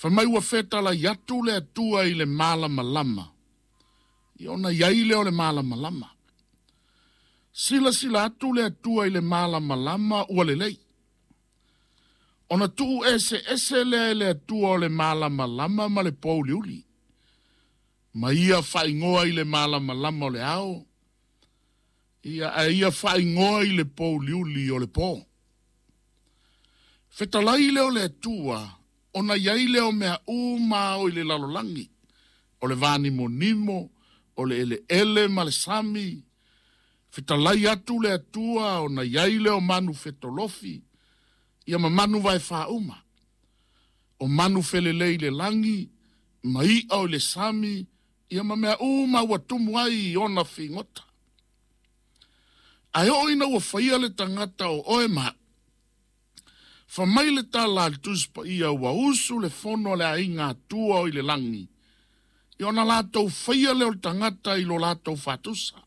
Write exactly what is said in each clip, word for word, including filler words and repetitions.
Fai mai ua fetalai atu le Atua i le malamalama, ia ona i ai lea o le malamalama. Silasila atu le Atua i le malamalama ua lelei. Ona tuu eseese lea e le Atua o le malamalama ma le pouliuli. Ma ia faaigoa i le malamalama o le ao, ia ae ia faaigoa i le pouliuli o le po. Fetalai lea o le Atua, ona i ai lea o mea uma o i le lalolagi, o le vanimonimo, o le eleele ma le sami. Fetalai atu le Atua, ona i ai lea o manu fetolofi, ia ma manu vaefaauma, o manu felelei i le lagi, ma i'a o i le sami, ia ma mea uma ua tumu ai i ona figota. Ae oo ina ua faia le tagata o oe ma a'u, fai mai le tala a le Tusi Paia ua usu le fono a le aiga Atua o i le lagi, ia ona latou faia lea o le tagata i lo latou faatusa.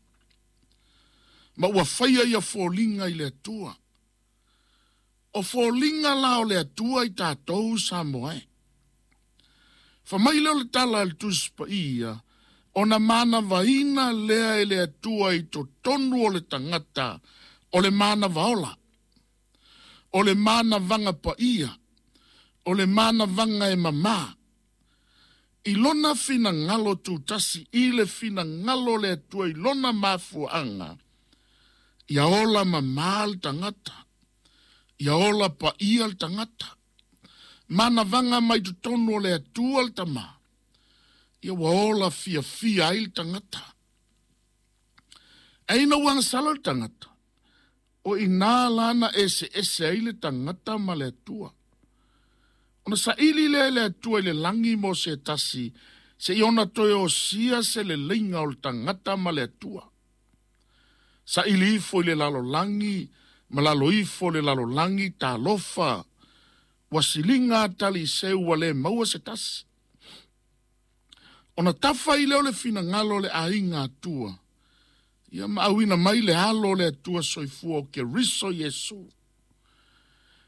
Ma ua faia ia foliga i le Atua. O foliga la o le Atua i tatou Samoa e. Fai mai lea o le tala a le Tusi Paia, ona manavaina lea e le Atua i totonu o le tagata o le manava ola, o le manavaga paia, o le manavaga e mamā. I lona finagalo tutasi i le finagalo o le Atua i lona mafuaaga, ia ola mamā le tagata, ia ola paia le tagata. Manavaga mai totonu o le Atua le Tama, ia ua ola fiafia ai le tagata. Ae ina ua agasala le tagata, o i ina lana eseese ai le tagata ma le Atua. Ona saili lea e le Atua i le lagi mo se tasi, seia ona toe osia se leleiga o le tagata ma le Atua. Saili ifo i le lalolagi, ma lalo ifo le lalolagi, talofa, ua siliga taliseu ua le maua se tasi. Ona tafa ai lea o le finagalo o le aiga Atua, ia ma auina mai le alo o le Atua soifua o Keriso Iesu.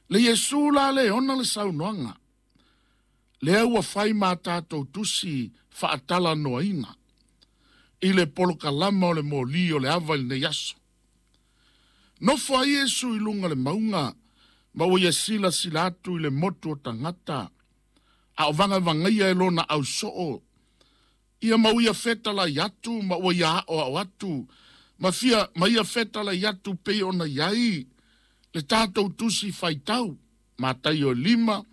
Le Iesu la le ona le saunoaga, lea ua fai ma tatou tusi faatalanoaina i le polokalama o le moli o le ava i lenei aso. Nofo ai Iesu i luga o le mauga, ma ua ia silasila atu i le motu o tagata, a o vagavagaia e lona ausoo, ia ma ua ia fetalai atu, ma ua ia aoao atu, ma fia ma ia fetalai atu pei ona i ai le tatou tusi faitau, Mataio e lima,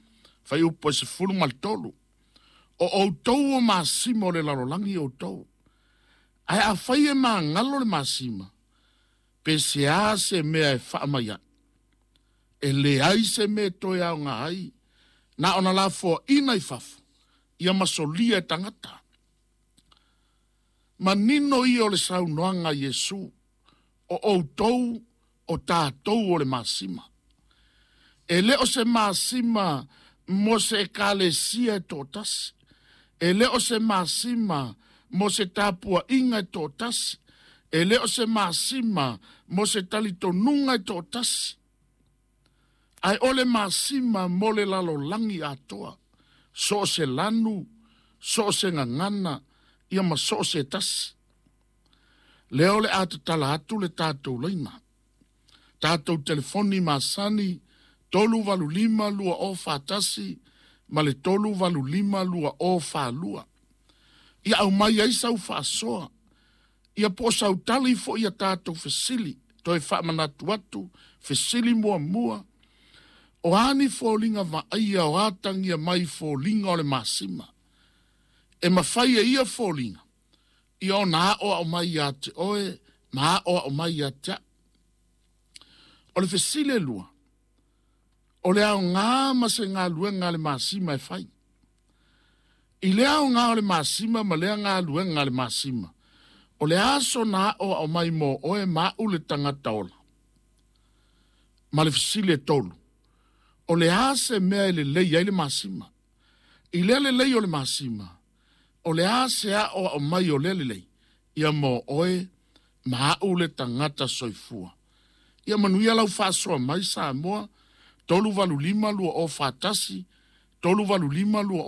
fuaiupu e sefulu ma le tolu. O outou o masima o le lalolagi outou. Ae afai e magalo le masima, pe se a se mea e faamai ai. E leai se mea e toe aoga ai, na ona lafoaina i fafo, ia masolia e tagata. Manino ia o le saunoaga a Iesu, o outou o tatou o le masima. E le o se masima mo se ekalesia e toatasi. E le o se masima mo se tapuaiga e toatasi. E le o se masima mo se talitonuga e toatasi. Ae o le masima mo le lalolagi atoa. So o se lanu, so o se gagana, ia ma so o se tasi. Lea o le a tatala atu le tatou laina. Tatou telefoni masani, tolu valu lima lua o fa tasi, ma le tolu valu lima lua o fa lua. Ia aumai ai sau faasoa, ia po o sau tali foi ia tatou fesili, toe faamanatu atu, fesili muamua, o a ni foliga vaaia o atagia mai foliga o le masima. E mafai e ia foliga, ia ona aoao mai ia te oe, ma aoao mai ia te a'u. O le fesili e lua, o le aoga ma se galuega a le masima e fai. I le aoga o le masima ma lea galuega a le masima, o le aso na aoao mai mo oe ma a'u le tagata ola. Ma le fesili e tolu, o le a se mea e lelei ai le masima. I lea lelei o le masima, o le a se aoao mai o lea lelei, ia mo oe ma a'u le tagata soifua. Ia manuia lau faasoa mai Samoa, tolu valu lima lua o fa tasi, tolu valu lima lua o